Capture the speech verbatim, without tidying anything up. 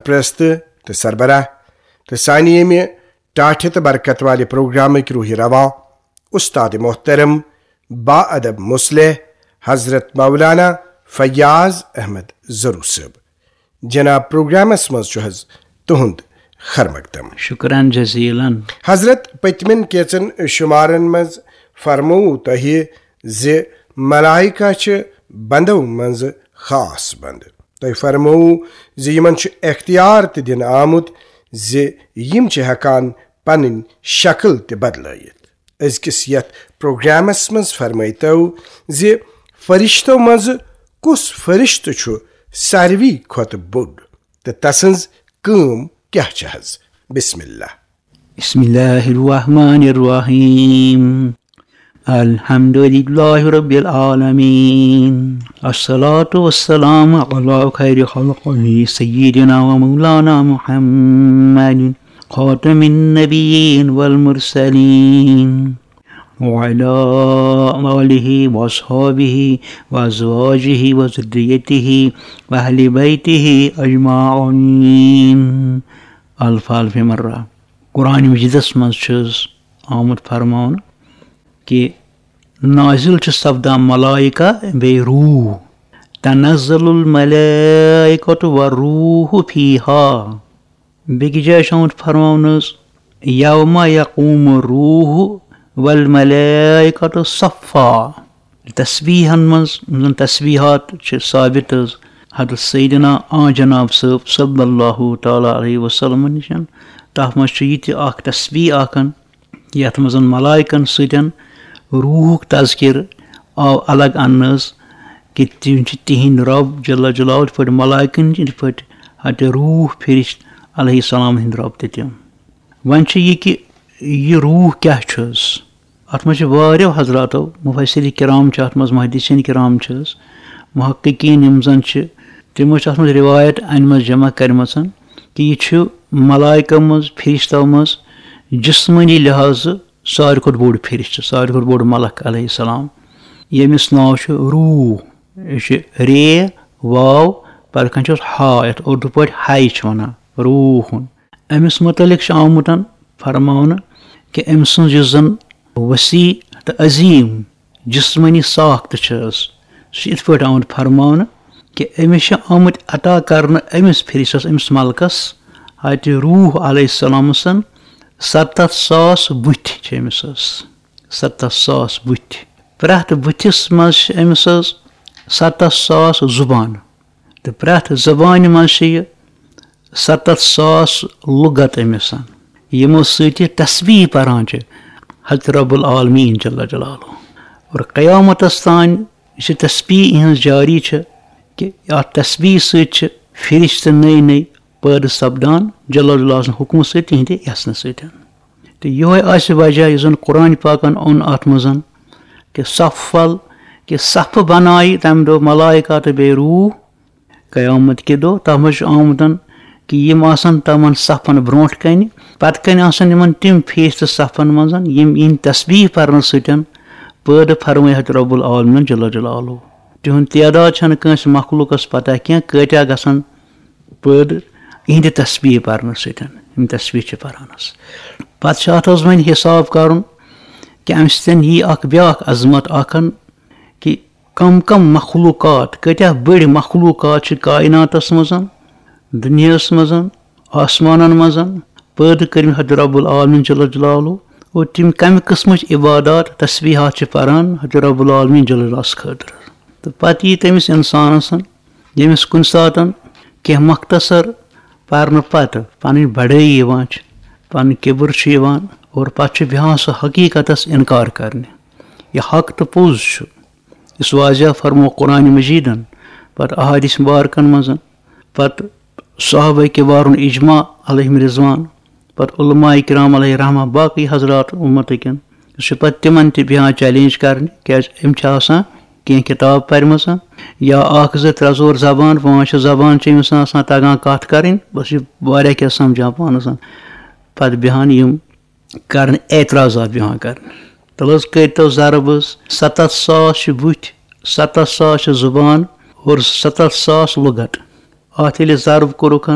پرست تہٕ سربراہ تہٕ سانہِ ییٚمہِ ٹاٹھہِ تہٕ برکت والہِ پروگرامٕکۍ روحہِ رواں، استاد محترم، با ادب مصلح، حضرت مولانا فیاض احمد ضرور صٲب۔ جناب، پروگرامس منٛز چھُ حض تُہُنٛد خیر مقدم۔ شکران جزیلن۔ حضرت، پٔتمٮ۪ن کینٛژن شمارن منٛز فرموو تۄہہِ زِ ملائکہ چھِ بندو منٛز خاص بندٕ۔ تۄہہِ فرموو زِ یِمن چھُ اختیار تہِ دِنہٕ آمُت زِ یِم چھِ ہٮ۪کان پنٕنۍ شکل تہِ بدلٲیِتھ۔ أزکِس یتھ پروگرامس منٛز فرمٲیتو زِ فرشتو منٛز کُس فرشتہٕ چھُ ساروی کھۄتہٕ بوٚڑ تہٕ تسٕنٛز کٲم کیٛاہ چھِ حض؟ بسم اللہ۔ بسم الله الرحمن الرحيم. الحمد لله رب العالمين. الصلاة والسلام على خير خلقه سيدنا ومولانا محمد خاتم النبيين والمرسلين وعلى آله وأصحابه وأزواجه وذريته وأهل بيته أجمعين. الف الف مرة۔ قرآن مجیدس منٛز چھُ آمُت فرماونہٕ کہِ نازل چھُ سپدان ملائکہ بیٚیہِ روح۔ تنزل الملائکة والروح فيها۔ بیٚکہِ جایہِ چھُ آمُت فرماونہٕ حض، یوم یقوم الروح والملائکة صفا۔ تسبیحن منٛز، یِم زن تسبیحات چھِ ثابت حض حضرت سیدنا آ جناب صٲب صلی اللہ تعالیٰ علیہ وسلم نِش، تتھ منٛز چھُ یہِ تہِ اکھ تسبیح اکھ، یتھ منٛز ملائکن سۭتۍ روحُک تذکر آو الگ اننہٕ حض، کہِ تِم چھِ تِہنٛدۍ رب جل جلالہ، یِتھ پٲٹھۍ ملائکن چھِ، یِتھ پٲٹھۍ حضرت روح فرشت علیہ السلام ہٕنٛدۍ رب تہِ تِم۔ وۄنۍ چھُ یہِ کہِ یہِ روح کیٛاہ چھُ حض؟ اتھ منٛز چھِ واریاہو حضراتو، مفسرین کرام چھِ اتھ منٛز، محدثین کرام چھِ حض، محققین یِم زن چھِ، تِمو چھِ اتھ منٛز روایت انِمٕژ جمع کرِمژن کہِ یہِ چھُ ملائکو منٛز، فرشتو منٛز جسمٲنی لحاظہٕ ساروی کھۄتہٕ بوٚڑ فرشتہٕ، ساروی کھۄتہٕ بوٚڑ ملک علیہ السلام، ییٚمِس ناو چھُ روح۔ یہِ چھُ رے، واو، پتہٕ کَنہِ چھُس ہا، یَتھ اردو پٲٹھۍ ہاے چھِ وَنان، روحُن۔ أمِس مُتعلِق چھُ آمُت فرماونہٕ کہِ أمۍ سٕنٛز یُس زَن وسیع تہٕ عظیٖم جسمٲنی ساخت چھِ حض، سُہ چھُ یِتھ پٲٹھۍ آمُت فرماونہٕ کہِ أمِس چھِ آمٕتۍ عطا کرنہٕ أمِس فرشتس، أمِس ملکس، حضرت روح علیہ السلام سن ستتھ ساس بُتھۍ چھِ أمِس حض، ستتھ ساس بُتھۍ۔ پرٛٮ۪تھ بُتھِس منٛز چھِ أمِس حض ستتھ ساس زُبان، تہٕ پرٛٮ۪تھ زبانہِ منٛز چھِ یہِ ستتھ ساس لغت أمِس، یِمو سۭتۍ یہِ تسبیح پران چھِ حضرت رب العالمین جل جلالہ۔ اور قیامتس تام یُس یہِ تسبیح یِہٕنٛز جاری چھِ، کہِ اَتھ تسبیح سۭتۍ چھِ فرشتہٕ نٔے نٔے پٲدٕ سپدان جل جلالہ سٕنٛدِ حُکمہٕ سۭتۍ، تِہنٛدِ یژھنہٕ سۭتۍ۔ تہٕ یِہوے آسہِ وجہ یُس زن قرآن پاکن اوٚن اتھ منٛز، کہِ صفل، کہِ صفہٕ بنایہِ تمہِ دۄہ ملائکہ تہٕ بیٚیہِ روح۔ قیامت کہِ دۄہ تتھ منٛز چھُ آمُت کہِ یِم آسن تمن صفن برونٛٹھ کنہِ، پتہٕ کنہِ آسن یِمن تِم فرشتہٕ صفن منٛز، یِم یِہنٛدِ تسبیح پرنہٕ سۭتۍ پٲدٕ فرمٲے حضرت رب العالمین جل جلالہ۔ تِہُنٛد تعداد چھنہٕ کٲنٛسہِ مخلوقس پتہ کینٛہہ، کۭتیاہ گژھن پٲدٕ یِہنٛدِ تسبیح پرنہٕ سۭتۍ، یِم تسبیح چھِ پران حض۔ پتہٕ چھُ اتھ حض وۄنۍ حساب کرُن کہِ امہِ سۭتۍ یی اکھ بیاکھ عظمت اکھ، کہِ کم کم مخلوقات، کۭتیاہ بٔڑۍ مخلوقات چھِ کائناتس منٛز، دُنیاہس منٛز، آسمانن منٛز پٲدٕ کٔرمٕتۍ حضرت رب العالمین جل جلالہ، اور تِم کمہِ قٕسمٕچ عبادات، تسبیحات چھِ پران حضرت رب العالمین جل جلالس خٲطرٕ۔ تہٕ پتہٕ یی تٔمِس انسانس، ییٚمِس کُنہِ ساتن کینٛہہ مختصر پرنہٕ پتہٕ پنٕنۍ بڑٲیی یِوان چھِ، پنُن کِبر چھُ یِوان، اور پتہٕ چھُ بیٚہوان سُہ حقیقتس انکار کرنہِ۔ یہِ حق تہٕ پوٚز چھُ، یُس واضح فرمو قرآن مجیدن، پتہٕ احادیث مبارکن منٛز، پتہٕ صحابہ کبارُن اجماع علیہم رضوان، پتہٕ علماء کرام علیہ رحمہ، باقی حضرات امتکٮ۪ن، سُہ چھُ پتہٕ تِمن تہِ بیٚہوان چیلنج کرنہِ، کیازِ أمۍ چھِ آسان کینٛہہ کِتاب پرِمٕژ، یا اکھ زٕ ترٛےٚ ژور زبان پانٛژھ شےٚ زبان چھِ أمِس آسان تگان کتھ کرٕنۍ، بس یہِ واریاہ کینٛہہ سمجھان پانس۔ پتہٕ بیٚہوان یِم کرنہٕ اعتراضات بیٚہوان کرنہٕ۔ تَلہٕ حض کٔرۍتو ضرب حض، ستتھ ساس چھِ بُتھۍ، ستتھ ساس چھِ زُبان اور ستتھ ساس لُغت۔ اَتھ ییٚلہِ ضرب کوٚرُکھ،